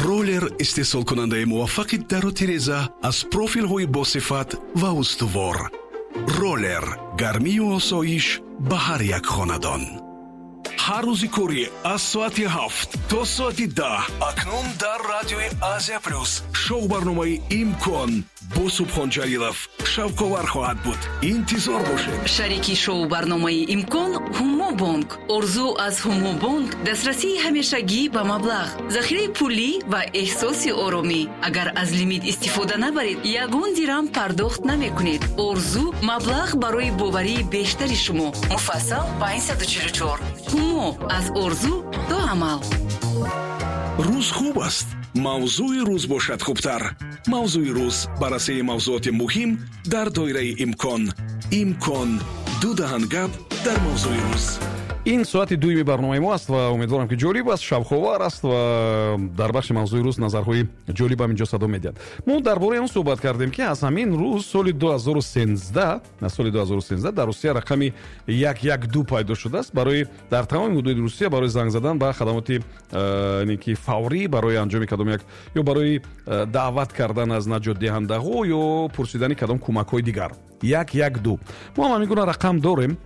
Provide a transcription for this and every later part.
Роллер истеҳсолкунандаи муваффақи дару тиреза аз профилҳои босифат ва устувор. Роллер гармию осоиш ба ҳар як хонадон. Ҳар рӯзи корӣ аз соати 7 то соати 10 акнун дар радиои Азия Плюс шоу барномаи «Имкон» бо Субҳон Ҷалилов шавқовар хоҳад буд. Интизор бошед. Шарики шоу-барномаи «Имкон» Ҳумобонк. Орзу аз Ҳумобонк дастрасии ҳамешагӣ ба маблағ, захираи пулӣ ва эҳсоси оромӣ. Агар аз лимит истифода набаред, ягон дирам пардохт намекунед. Орзу маблағ барои боварии бештари шумо. Муфассал 544. Ҳумо аз орзу то амал. Рӯз хуб аст, мавзӯи рӯз бошад хубтар. Мавзӯи рӯз баррасии мавзӯоти муҳим дар доираи имкон. Имкон ду даҳан гап дар мавзӯи рӯз. Ин соати дуюми барномаи мо аст ва умедворам, ки ҷолиб аст, шавқовар аст ва дар бахши мавзӯи рӯз назарҳои ҷолибам инҷо садо медиҳад. Мо дар бораи он суҳбат кардем, ки аз ҳамин рӯз, соли 2013, аз соли 2013 дар Русия рақами 112 пайдо шудааст барои дар тамоми ҳудуди Русия барои занг задан ба хадамоти ки фаврӣ, барои анҷоми кадом як ё барои даъват кардан аз наҷотдиҳандаҳо ё пурсидани кадом кӯмакҳои дигар. 112. Мо ҳам ҳамин гуна рақам дорем,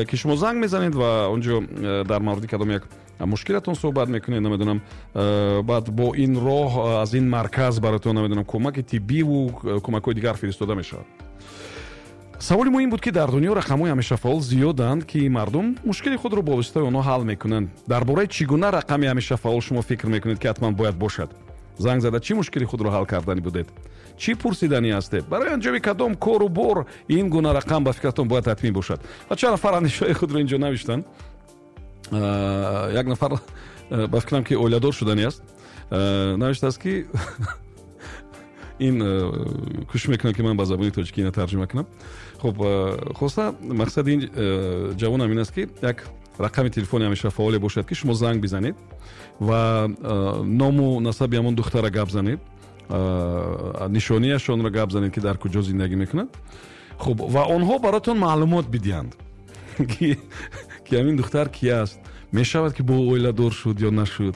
ки шумо занг мезанед ва он ҷо дар мавриди кадом як мушкилатон суҳбат мекунед, намедонам, баъд бо ин роҳ аз ин марказ бароятон, намедонам, кӯмаки тиббиву кӯмакҳои дигар фиристода мешавад. Саволи мо ин буд, ки дар дунё рақамҳои ҳамешафаъол зиёданд, ки мардум мушкили худро бо воситаи онҳо ҳал мекунанд. Дар бораи чӣ гуна рақами ҳамешафаъол шумо фикр мекунед, ки ҳатман бояд бошад? Занг зада чӣ мушкили худро ҳал кардани будед? Чӣ пурсиданӣ ҳастед? Барои анҷоми кадом кору бор ин гуна рақам ба фикратон бояд ҳатмӣ бошад? Ва чанд нафар андешаҳои худро инҷо навиштанд. Як нафар, ба фикрам, ки оиладор шуданӣ аст, навиштааст, ки ин кӯшиш мекунам, ки ман ба забони тоҷикӣ ина тарҷума кунам. Хуб, хоста мақсади ин ҷавонам ин аст, ки як рақами телефони ҳамеша фаъоле бошад, ки шумо занг бизанед ва ному насаби ҳамон духтара гап занед, нишонияшонро гап занед, ки дар куҷо зиндагӣ мекунад. Хуб, ва онҳо баротон маълумот бидиҳанд, ки ҳамин духтар ки аст, мешавад, ки бо оиладор шуд ё нашуд.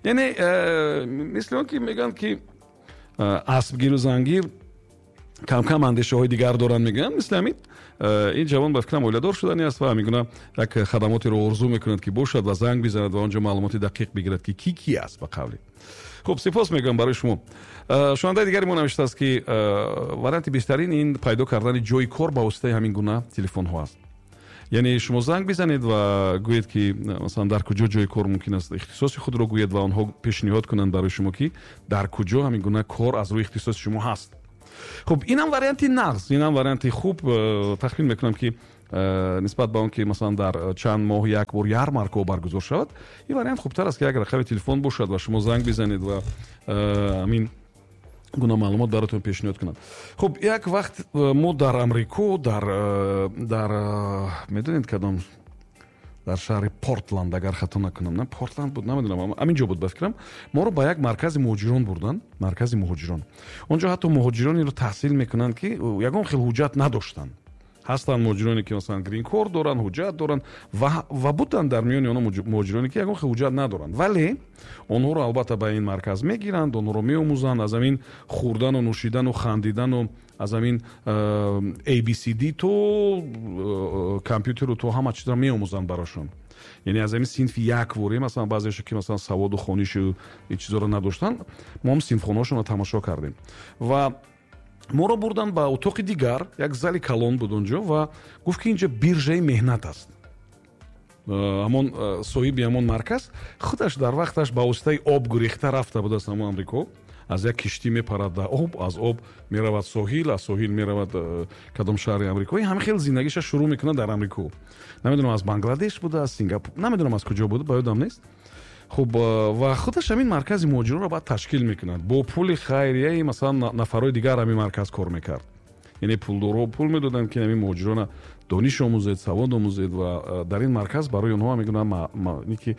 Яъне мисли он ки мегӯянд, ки аспгиру зангир камкам андешаҳои дигар доранд, мегӯянд, мисли ҳамин ин ҷавон, ба фикрам, оиладор шудани аст ва ҳамин гуна як хадамотеро орзу мекунад, ки бошад ва занг бизанад ва он ҷо маълумоти дақиқ бигирад, ки ки ки аст, ба қавле. Хуб, сипос мегӯям барои шумо. Шунавандаи дигари мо навиштааст, ки варианти беҳтарин ин пайдо кардани ҷои кор ба воситаи ҳамин гуна телефонҳо аст. Яъне шумо занг бизанед ва гӯед, ки масалан дар куҷо ҷои кор мумкин аст, ихтисоси худро гӯед ва онҳо пешниҳод кунанд барои шумо, ки дар куҷо ҳамин гуна кор аз рӯи ихтисоси шумо ҳаст. Хуб, инам варианти нағз, инам варианти хуб. Тахмин мекунам, ки нисбат ба он ки масалан дар чанд моҳ як бор ярмаркаҳо баргузор шавад, ин вариант хубтар аст, ки як рақами телефон бошад ва шумо занг бизанед ва ҳамин гуна маълумот баротон пешниҳод кунанд. Хуб, як вақт мо дар Амрико, дар медонед кадом, дар шаҳри Портланд, агар хато накунам, на Портланд буд, намедонам, ҳамин ҷо буд, ба фикрам, моро ба як маркази муҳоҷирон бурданд. Маркази муҳоҷирон, он ҷо ҳатто муҳоҷиронеро таҳсил мекунанд, ки ягон хел ҳуҷҷат надоштанд. Ҳастанд муҳоҷироне, ки масалан грин-корт доранд, ҳуҷҷат доранд ва буданд дар миёни онҳо муҳоҷироне, ки ягон хел ҳуҷҷат надоранд, вале онҳоро албатта ба ин марказ мегиранд, онҳоро меомӯзанд аз ҳамин хӯрдану нӯшидану хандидану аз ҳамин ABCD то компютеру то ҳама чизро меомӯзанд барошон. Яъне аз ҳамин синфи як ворӣ, масалан баъзеашо, ки масалан саводу хонишу ин чизоро надоштанд, мо ҳам синфхонаҳошонро тамошо кардем. Ва моро бурданд ба утоқи дигар, як зали калон буд онҷо, ва гуфт, ки инҷо биржаи меҳнат аст. Ҳамон соҳиби ҳамон марказ худаш дар вақташ ба воситаи об гурехта рафта буд аз ҳамон Амрико. Аз як киштӣ мепарад дар об, аз об меравад соҳил, аз соҳил меравад кадом шаҳри амрикоӣ. Ҳамин хел зиндагиша шурӯъ мекунад дар Амрико. Намедонам, аз Бангладеш буда, аз Сингапур, намедонам, аз куҷо буда, ба ёдам нест. Хуб, ва худаш ҳамин маркази муҳоҷиронро баъд ташкил мекунад бо пули хайрияи масалан нафарҳои дигар. Ҳамин марказ кор мекард, яъне пулдорҳо пул медоданд, ки ҳамин муҳоҷирона дониш омӯзед, савод омӯзед. Ва дар ин марказ барои онҳо мегӯянд, ки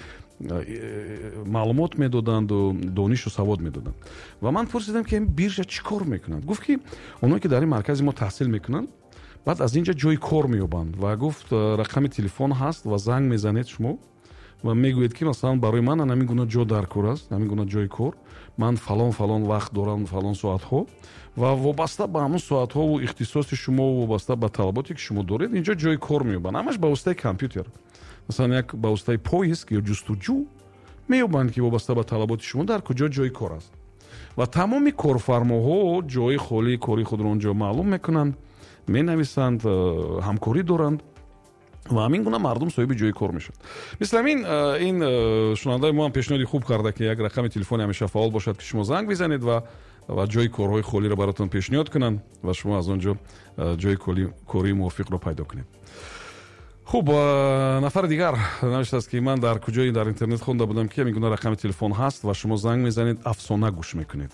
маълумот медоданду донишу савод медоданд. Ва ман пурсидам, ки ҳамин биржа чӣ кор мекунад? Гуфт, ки онҳое, ки дар ин маркази мо таҳсил мекунанд, баъд аз ин ҷо ҷои кор меёбанд. Ва гуфт, рақами телефон ҳаст ва занг мезанед шумо. Ва мегӯед, ки масалан, барои ман ҳамин гуна ҷо дар кор аст, ҳамин гуна ҷои кор, ман фалон фалон вақт дорам, фалон соатҳо, ва вобаста ба ҳамон соатҳову ихтисоси шумо, вобаста ба талаботе, ки шумо доред, инҷо ҷои кор меёбанд. Ҳамаш ба воситаи компютер, масалан, як ба воситаи поиск ё ҷустуҷӯ меёбанд, ки вобаста ба талаботи шумо дар куҷо ҷои кор аст. Ва тамоми корфармоҳо ҷои холии кори худро он ҷо маълум мекунанд, менависанд, ҳамкорӣ доранд ва ҳамин гуна мардум соҳиби ҷои кор мешавад. Мисли ҳамин ин шунавандаи мо ҳам пешниҳоди хуб карда, ки як рақами телефони ҳамеша фаъол бошад, ки шумо занг бизанед ва ҷои корҳои холиро баротон пешниҳод кунанд ва шумо аз он ҷо ҷои кории мувофиқро пайдо кунед. Хуб, нафари дигар навиштааст, ки ман дар куҷое дар интернет хонда будам, ки ҳамин гуна рақами телефон ҳаст ва шумо занг мезанед, афсона гӯш мекунед.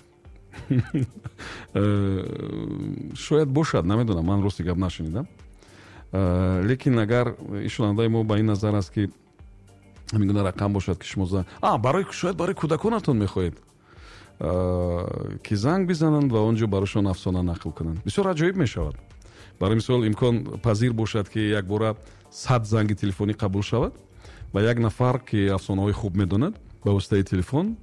Шояд бошад, намедонам, ман рости гап нашунидам. Лекин агар ин шунавандаи мо ба ин назар аст, ки ҳамин гуна рақам бошад, ки шумо барои, шояд барои кӯдаконатон мехоҳед, ки занг бизананд ва он ҷо барошон афсона нақл кунанд, бисёр аҷоиб мешавад. Барои мисол, имкон пазир бошад, ки якбора 100 занги телефонӣ қабул шавад ва як нафар, ки афсонаҳои хуб медонад, ба воситаи телефон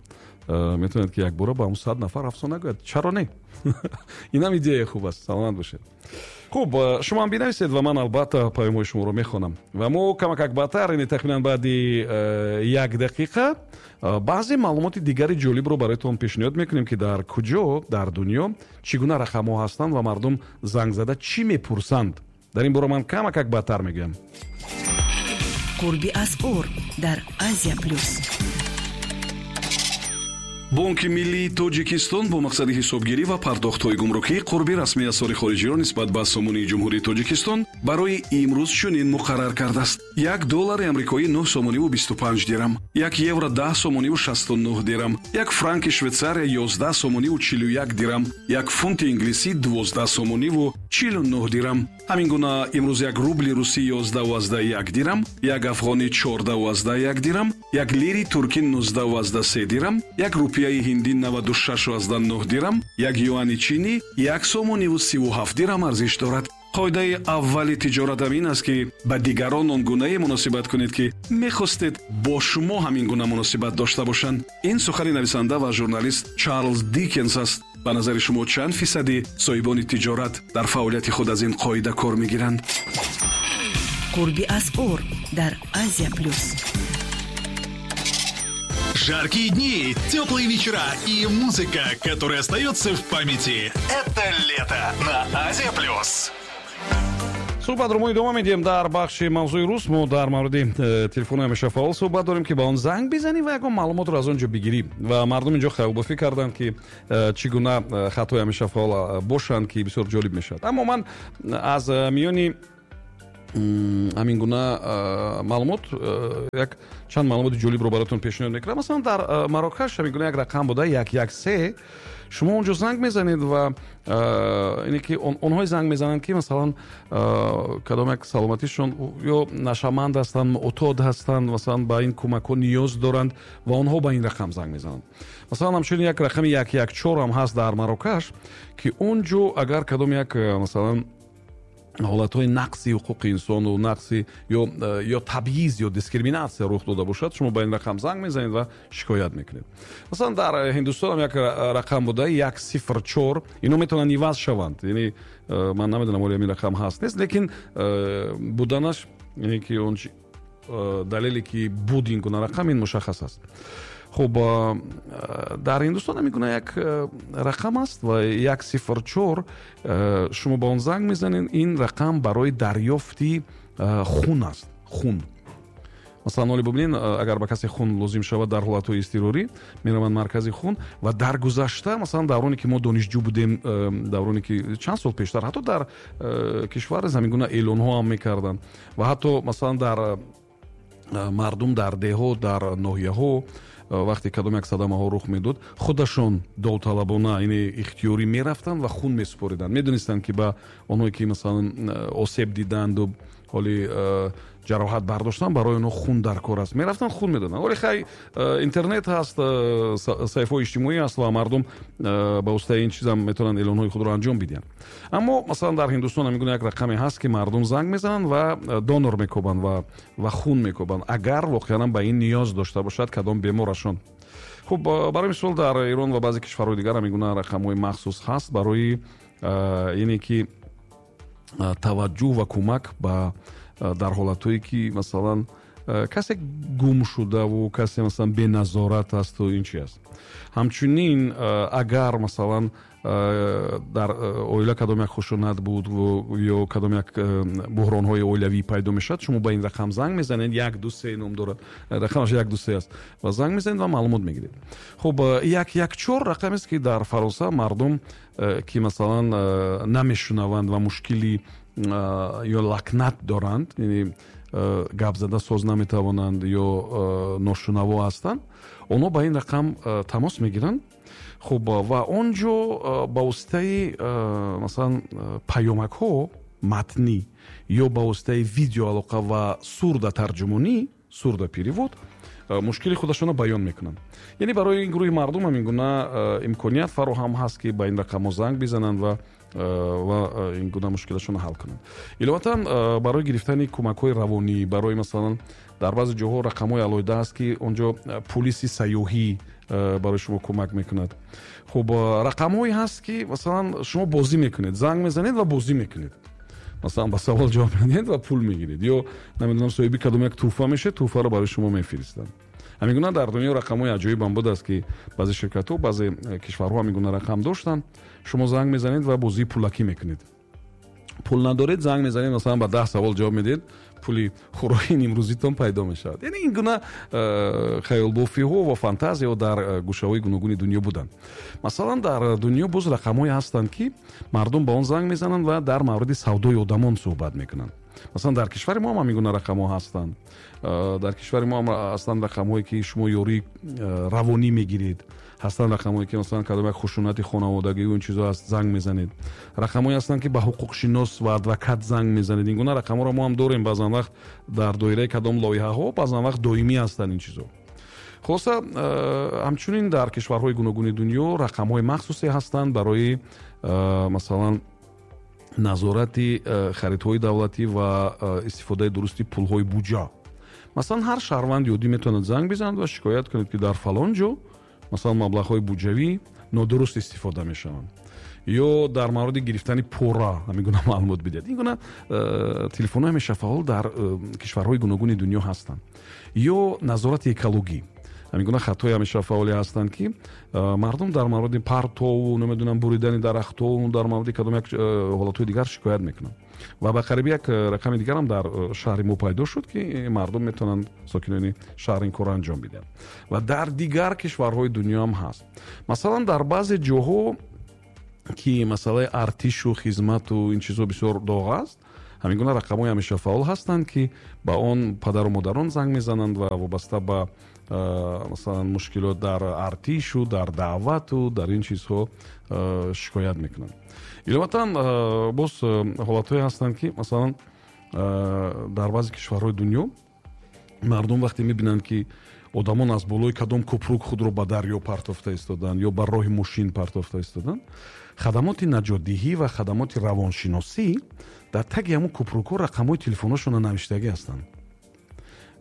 метавонад, ки якбора ба ҳамн 100 нафар афсона гӯяд. Чаро не? Инам идеяи хуб аст. Саломат бошед. Хуб, шумо ҳам бинависед ва ман албатта паёмҳои шуморо мехонам. Ва мо камакак баъдтар, яъне тахминан баъди як дақиқа, баъзе маълумоти дигари ҷолибро бароятон пешниҳод мекунем, ки дар куҷо дар дунё чӣ гуна рақамҳо ҳастанд ва мардум занг зада чӣ мепурсанд. Дар ин бора ман камакак баъдтар мегӯям. Қурби асъор дар Азия Плюс. Бонки миллии Тоҷикистон бо мақсади ҳисобгирӣ ва пардохтҳои гумрукӣ қурби расмии асъори хориҷиро нисбат ба сомонии Ҷумҳурии Тоҷикистон барои имрӯз чунин муқаррар кардааст: 1 доллари амрикоӣ 9 сомониву 25 дирам, 1 евро 10 сомониву 69 дирам, 1 франки Швейтсария 11 сомониву 41 дирам, 1 фунти инглисӣ 12 сомониву 49 дирам. Ҳамин гуна имрӯз 1 рубли русӣ 11,1 дирам, 1 афғонӣ 14,1 дирам, 1 лири туркӣ 19,3 дирам, 1 рупияи ҳиндӣ 96,9 дирам, 1 юани чинӣ 1 сомониву 37 дирам арзиш дорад. Қоидаи аввали тиҷоратам ин аст, ки ба дигарон он гунае муносибат кунед, ки мехостед бо шумо ҳамин гуна муносибат дошта бошанд. Ин сухани нависанда ва журналист Чарлз Дикенс аст. Ба назари шумо, чанд фисади соҳибони тиҷорат дар фаъолияти худ аз ин қоида кор мегиранд? Қурби асъор дар Азия Плюс. Жаркие дни, теплые вечера и музыка, которая остается в памяти. Это лето на Азия Плюс. Суҳбатро мо идома медиҳем. Дар бахши мавзӯи рӯз мо дар мавриди телефони ҳамеша фаъол суҳбат дорем, ки ба он занг бизанӣ ва ягон маълумотро аз он ҷо бигирӣ. Ва мардум инҷо хаёлбофӣ карданд, ки чӣ гуна хатҳои ҳамеша фаъол бошанд, ки бисёр ҷолиб мешавад. Аммо ман аз миёни ҳамин гуна маълумот як чанд маълумоти ҷолибро бароятон пешниҳод мекунам. Масалан, дар Марокаш ҳамин гуна як рақам буда, 113. Шумо он ҷо занг мезанед ва ине ки онҳое занг мезананд, ки масалан, кадом як саломатишон ё нашаманд ҳастанд, муътод ҳастанд, масалан, ба ин кӯмакҳо ниёз доранд ва онҳо ба ин рақам занг мезананд. Масалан, ҳамчунин як рақами 114 ҳам ҳаст дар Марокаш, ки он ҷо агар кадом як, масалан, ҳолатҳои нақси ҳуқуқи инсону нақси ё табъиз ё дискриминатсия рух дода бошад, шумо ба ин рақам занг мезанед ва шикоят мекунед. Масалан, дар Ҳиндустон ҳам як рақам буда, 104. Ино метавонанд иваз шаванд, яъне ман намедонам, оли ҳамин рақам ҳаст, нест, лекин буданаш, яъне ки он далеле, ки буд ин гуна рақам, ин мушаххас аст. Хуб, дар Ҳиндустон ҳамин гуна як рақам аст ва 104, шумо ба он занг мезанед. Ин рақам барои дарёфти хун аст, хун. Масалан, оли бубинед, агар ба касе хун лозим шавад, дар ҳолатҳои изтирорӣ мераванд маркази хун. Ва дар гузашта, масалан, давроне ки мо донишҷӯ будем, давроне ки чанд сол пештар, ҳатто дар кишвар ҳамин гуна эълонҳо ҳам мекарданд ва ҳатто, масалан, дар мардум дар деҳот, дар ноҳияҳо, вақте кадом як садамаҳо рух медод, худашон довталабона, яъне ихтиёрӣ мерафтанд ва хун месупориданд. Медонистанд, ки ба онҳое, ки масалан, осеб диданду Ҳоли ҷароҳат бардоштан, барои онҳо хун дар кор аст, мерафтанд, хун медоданд. Ҳоли хай, интернет ҳаст, саҳифаҳои иҷтимоӣ ҳаст ва мардум ба воситаи ин чизам метавонанд эълонҳои худро анҷом бидиҳанд. Аммо масалан, дар Ҳиндустон ҳамин гуна як рақаме ҳаст, ки мардум занг мезананд ва донор мекобанд ва хун мекобанд, агар воқеан ба ин ниёз дошта бошад кадом беморашон. Хуб, барои мисол, дар Эрон ва баъзе кишварҳои дигар ҳамин гуна рақамҳои махсус ҳаст барои ине ки таваҷҷӯҳ ва кӯмак ба дар ҳолатҳое ки, масалан, касе гум шудаву касе, масалан, беназорат асту ин чи аст. Ҳамчунин, агар, масалан, дар оила кадом як хушунат буд ё кадом як буҳронҳои оилавӣ пайдо мешавад, шумо ба ин рақам занг мезанед, 123 ном дорад, рақамаш 123 аст, ва занг мезанед ва маълумот мегиред. Хуб, 114 рақамест, ки дар Фаронса мардум, ки, масалан, намешунаванд ва мушкили ё лакнат доранд, яъне гап зада соз наметавонанд ё ношунаво ҳастанд, онҳо ба ин рақам тамос мегиранд. Хуб, ва он ҷо ба воситаи, масалан, паёмакҳо матнӣ ё ба воситаи видеоалоқа ва сурдотарҷумонӣ, сурдоперевод, мушкили худашонро баён мекунанд. Яъне барои ин гурӯҳи мардум ҳамин гуна имконият фароҳам ҳаст, ки ба ин рақамҳо занг бизананд ва ин гуна мушкилашонро ҳал кунанд. Иловатан, барои гирифтани кӯмакҳои равонӣ, барои, масалан, дар баъзе ҷоҳо рақамҳои алоҳида ҳаст, ки он ҷо пулиси сайёҳӣ барои шумо кӯмак мекунад. Хуб, рақамҳое ҳаст, ки, масалан, шумо бозӣ мекунед, занг мезанед ва бозӣ мекунед, масалан, ба савол ҷавоб медиҳед ва пул мегиред ё, намедонам, соҳиби кадом як тӯҳфа мешавед, тӯҳфаро барои шумо мефиристанд. Ҳамин гуна дар дунё рақамҳои аҷоибам будааст, ки баъзе ширкатҳо, баъзе кишварҳо ҳамин гуна рақам доштанд. Шумо занг мезанед ва бозии пулакӣ мекунед. Пул надоред, занг мезанед, масалан, ба 10 савол ҷавоб медиҳед, пули хӯроки нимрӯзитон пайдо мешавад. Яъне ин гуна хаёлбофиҳо ва фантазияҳо дар гӯшаҳои гуногуни дунё буданд. Масалан, дар дунё боз рақамҳое ҳастанд, ки мардум ба он занг мезананд ва дар мавриди савдои одамон суҳбат мекунанд. Масалан, дар кишвари мо ҳам ҳамин гуна рақамҳо ҳастанд. Дар кишвари мо ҳам ҳастанд рақамҳое, ки шумо ёрии равонӣ мегиред. Ҳастанд рақамҳое, ки, масалан, кадом як хушунати хонаводагӣ, ин чизо ҳаст, занг мезанед. Рақамҳое ҳастанд, ки ба ҳуқуқшинос ва адвокат занг мезанед. Ин гуна рақамҳоро мо ҳам дорем. Баъзан вақт дар доираи кадом лоиҳаҳо, баъзан вақт доимӣ ҳастанд ин чизо. Хулоса, ҳамчунин дар кишварҳои гуногуни дунё рақамҳои махсусе ҳастанд барои, масалан, назорати харидҳои давлатӣ ва истифодаи дурусти пулҳои буҷа. Масалан, ҳар шаҳрванди оддӣ метавонад занг бизанад ва шикоят кунад, ки дар фалон ҷо, масалан, маблағҳои буҷавӣ нодуруст истифода мешаванд ё дар мавриди гирифтани пора ҳамин гуна маълумот бидиҳад. Ин гуна телефонҳои ҳамешафаъол дар кишварҳои гуногуни дунё ҳастанд. Ё назорати экологӣ, ҳамин гуна хатҳои ҳамешафаъоле ҳастанд, ки мардум дар мавриди партову, намедонам, буридани дарахтову дар мавриди кадом як ҳолатҳои дигар шикоят мекунанд. Ва ба қариби як рақами дигарам дар шаҳри мо пайдо шуд, ки мардум метавонанд, сокинони шаҳр, ин корро анҷом бидиҳанд. Ва дар дигар кишварҳои дунё ҳам ҳаст. Масалан, дар баъзе ҷоҳо, ки масъалаи артишу хизмату ин чизҳо бисёр доғ аст, ҳамин гуна рақамҳои ҳамешафаъол ҳастанд, ки ба он падару модарон занг мезананд ва вобаста ба, масалан, мушкилот дар артишу, дар даъвату дар ин чизҳо шикоят мекунанд. Иловатан, боз ҳолатҳое ҳастанд, ки, масалан, дар баъзе кишварҳои дунё мардум вақте мебинанд, ки одамон аз болои кадом кӯпрук худро ба дарё партофта истоданд ё ба роҳи мошин партофта истоданд, хадамоти наҷотдиҳӣ ва хадамоти равоншиносӣ дар таги ҳамун кӯпрукҳо рақамҳои телефонҳошонро навиштагӣ ҳастанд.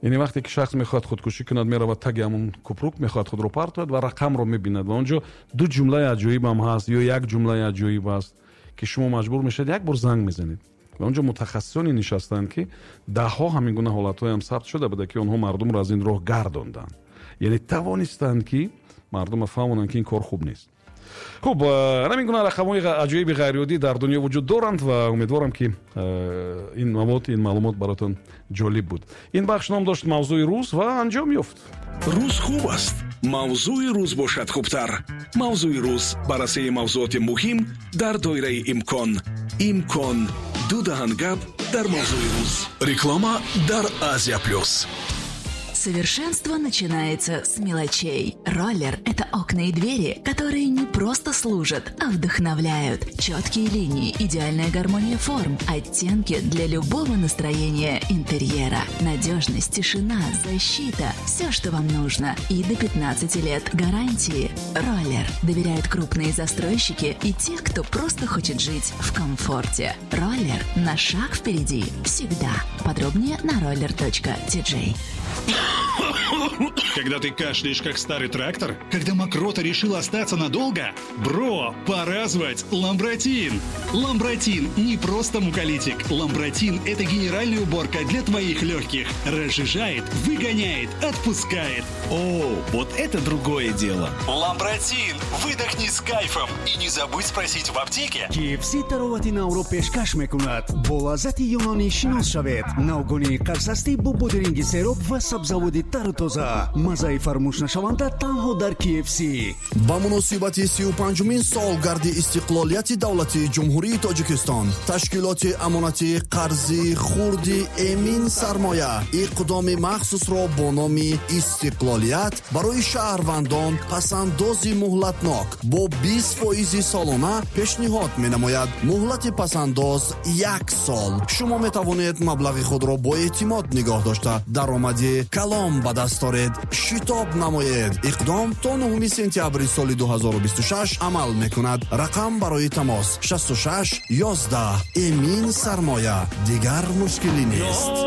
Яъне вақте ки шахс мехоҳад худкушӣ кунад, меравад таги ҳамун кӯпрук, мехоҳад худро партояд ва рақамро мебинад ва он ҷо ду ҷумлаи аҷоибам ҳаст ё як ҷумлаи аҷоиб аст, ки шумо маҷбур мешавед, як бор занг мезанед ва он ҷо мутахассисоне нишастанд, ки даҳҳо ҳамин гуна ҳолатҳоям сабт шуда буда, ки онҳо мардумро аз ин роҳ гардонданд, яъне тавонистанд, ки мардумро фаҳмонанд, ки ин кор хуб нест. Хуб, ҳамин гуна рақамҳои аҷоиби ғайриоддӣ дар дунё вуҷуд доранд ва умедворам, ки ин мавод, ин маълумот баротон ҷолиб буд. Ин бахш ном дошт «Мавзӯи рӯз» ва анҷом ёфт. Рӯз хуб аст, мавзӯи рӯз бошад хубтар. «Мавзӯи рӯз», баррасии мавзӯоти муҳим дар доираи имкон. Имкон: ду даҳан гап дар мавзӯи рӯз. Реклама дар «Азия Плюс». Совершенство начинается с мелочей. Роллер – это окна и двери, которые не просто служат, а вдохновляют. Четкие линии, идеальная гармония форм, оттенки для любого настроения интерьера. Надежность, тишина, защита – все, что вам нужно. И до 15 лет гарантии. Роллер доверяют крупные застройщики и те, кто просто хочет жить в комфорте. Роллер на шаг впереди всегда. Подробнее на roller.tj. Когда ты кашляешь, как старый трактор? Когда мокрота решила остаться надолго? Бро, пора звать Ламбратин! Ламбратин не просто муколитик. Ламбратин – это генеральная уборка для твоих легких. Разжижает, выгоняет, отпускает. О, вот это другое дело. Ламбратин! Выдохни с кайфом и не забудь спросить в аптеке. KFC таровати навро пешкаш мекунад. Бо лаззати юнонӣ шинос шавед. Навгонии қарсастӣ бо бодиринги сероб ва сабзаводи тару тоза. Маззаи фаромӯшнашаванда танҳо дар KFC. Ба муносибати 35-умин солгарди истиқлолияти давлатии Ҷумҳурии Тоҷикистон ташкилоти амонатии қарзи хурди Эмин Сармоя иқдоми махсусро бо номи Истиқлолият барои шаҳрвандон пасандози муҳлатнок бо 20 фоизи солона пешниҳод менамояд. Муҳлати пасандоз як сол. Шумо метавонед маблағи худро бо эътимод нигоҳ дошта, даромади калон ба даст оред. Шитоб намоед, иқдом то 9 сентябри соли 2026 амал мекунад. Рақам барои тамос 66 11. Эмин Сармоя, дигар мушкилӣ нест.